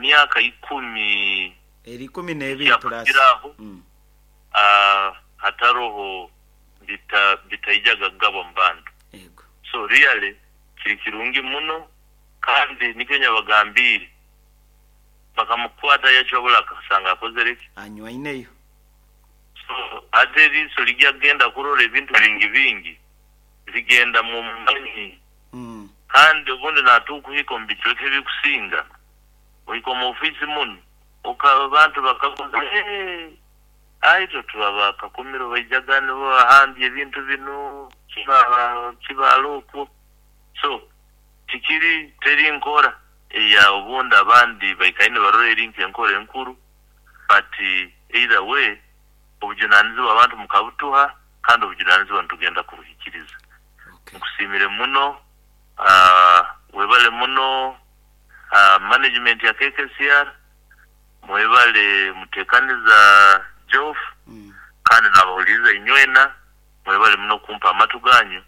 Myaka 10 Eri 12 plus. Yakukiraho. Hataroho bitaijaga kugabwa mu bantu. Ego. So really kiri kirungi muno, kandi nikyo nyabagambiire bakamukwata yachobora akasanga akozere ki? Anywaineyo. So ate eriiso lijya kugenda kurora ebintu bingi bingi ligenda mu manyi. Kandi obundi natukuhika omu bicweka ebikusinga ohika omu ofiisi muno abantu bakaguza, "Hey, aitwe tuba bakakumiro baijaga nibo bahambye ebintu bino kibaala okwo." So tikiri teri nkora eya obundi abandi baikaire nibarora eri nk'enkora enkuru, but either way obujunanizibwa abantu mukabutuha, kandi obujunanizibwa nitugenda kubuhikiriza. Nkusiimire muno, webale muno, management ya KKCR, mwebale mutekaniza Joff, kandi nabahuliriza inywena, mwebale muno kumpa amatu ganyu,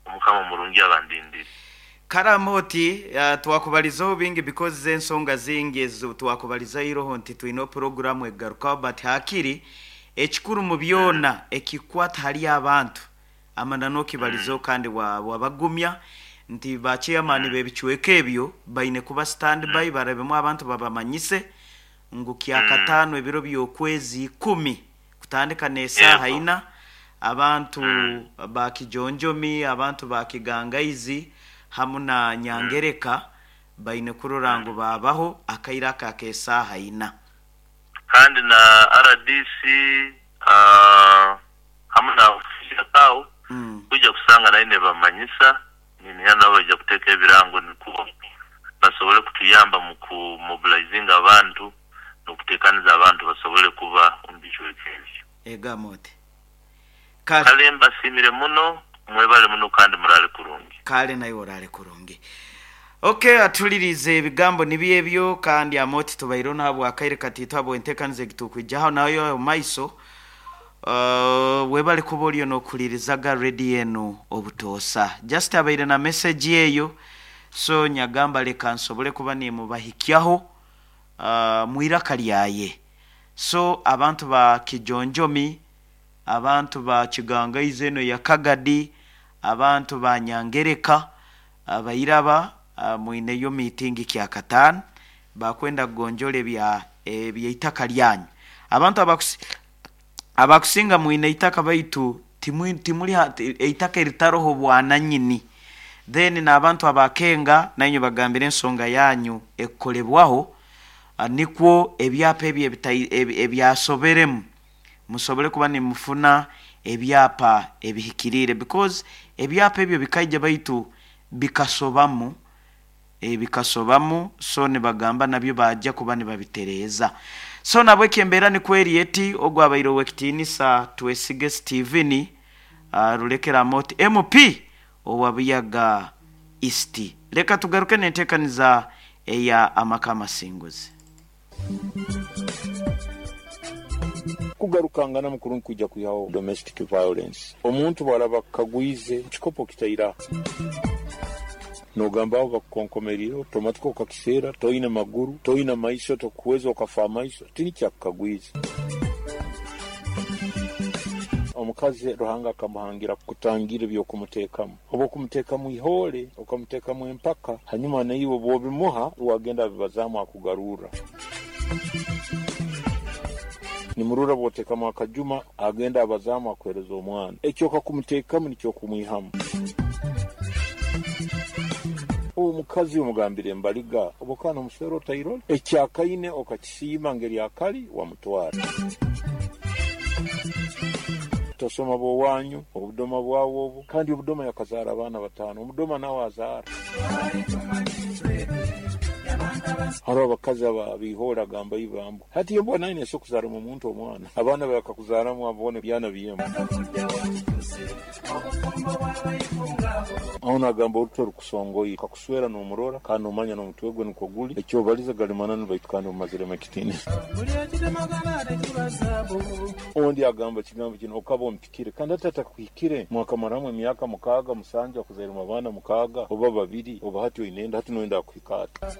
omukama murungi abandindire. Karamoti, twakubalizaho bingi because ensonga zingi ezo twakubalizairoho nti twine programu egarukaho, but hakiri ekikuru mu byona ekikwata hali abantu amanano okibalizaho kandi wabagumya nti ba chairman b'ebicweka ebyo baine kuba standby, barabemu abantu babamanyise ngu kyakataano ebiro by'okwezi 10 kutandika n'esaaha 4, abantu ba Kijonjomi, abantu ba Kigangaizi hamu na Nyangereka baine kurora ngu babaho akaire aka ak'esaaha 4. Kandi na RDC hamu na ofisi ya KAU kujja kusanga nayo nebamanyisa, niniha nabo baija kuteeka ebirango nikwo basobole kutuyamba mu kumobilizinga abantu n'okuteekaniza abantu basobole kuba omu bicweka ebyo. Egamote. Kale mbasiimire muno, mwebale muno kandi murale kurungi. Kale nayo orale kurungi. Okay, atulirize ebigambo nibyo ebyo, kandi amoti tubaire nahabwa akaire katiito habwa enteekaniza egitukwijaho nayo maiso. Webale kuba oliyo n'okulirizaga radio eno obutoosa. Just abaire na message eyo, so nyagamba leka nsobole kuba nimubahikyaho mwiraka lyaye. So abantu ba Kijonjomi, abantu ba Kigangaizi eno ya Kagadi, abantu ba Nyangereka, abairaba mwineyo meeting kyakataano bakwenda kugonjola ebyeitaka lyanyu. Abantu abakusinga mwine eitaka baitu timuli eitaka eritaroho bwananyini. Then n'abantu abakenga nainywe bagambire ensonga yanyu ekukolebwaho, nikwo ebyapa ebyo ebyasoberemu musobole kuba nimufuna ebyapa ebihikiriire, because ebyapa ebyo bikaija baitu bikasobamu, so nibagamba nabyo bajja kuba nibabitereeza. So nabwo embeera nikwo eri eti, ogwabaire ow'ekitiinisa Twesige Steven, Rulekera Amoti MP owa Buyaga East. Leka tugaruke n'enteekaniza eya amaka amasinguzi. Kugarukangana mukuru nkwijja kwihaho domestic violence. Omuntu bw'araba akagwize kikopo kitaira, nogamba aho bakukonkomerire otomatika okakiseera, toine maguru, toine maiso, tokuweza okafa amaiso, tini kyakukagwiza. Omukazi Ruhanga akamuhangira kutangira ebyokumuteekamu, oba okumuteekamu ihoole, okamuteekamu empaka, hanyuma naiwe bw'obimuha wagenda abibazaamu akugarurra. Nimurura bw'oteekamu akajuma agenda abazaamu akuhereza omwana. Ekyo okakumuteekamu nikyo okumwihamu. Omukazi omugambire embaliga oba okana omuswera otairole, ekyakaine okakisiima ngeri akali wamutwara. Tosoma bw'owanyu obudoma bwawe obu, kandi obudoma yakazaara abaana 5, omudoma nawe azaara. Hariho abakazi ababihoora agamba ibambu hati embwa nayo neesobola kuzaaramu omuntu omwana, abaana bakakuzaaramu abone byana byemu. Aho nagamba oruto rukusongoire kakuswera n'omurora kandi nomanya n'omutwe gwe nikwo guli, ekyobaliza gali mananu baitu kandi omumaziremu ekitiinisa. Ondi agamba ekigambo kino okaba ompikire, kandi hati atakuhikire mwakamaramu emyaka 6 7 akuzairemu abaana 6 oba 2, oba hati oine enda, hati noyenda akuhika ata?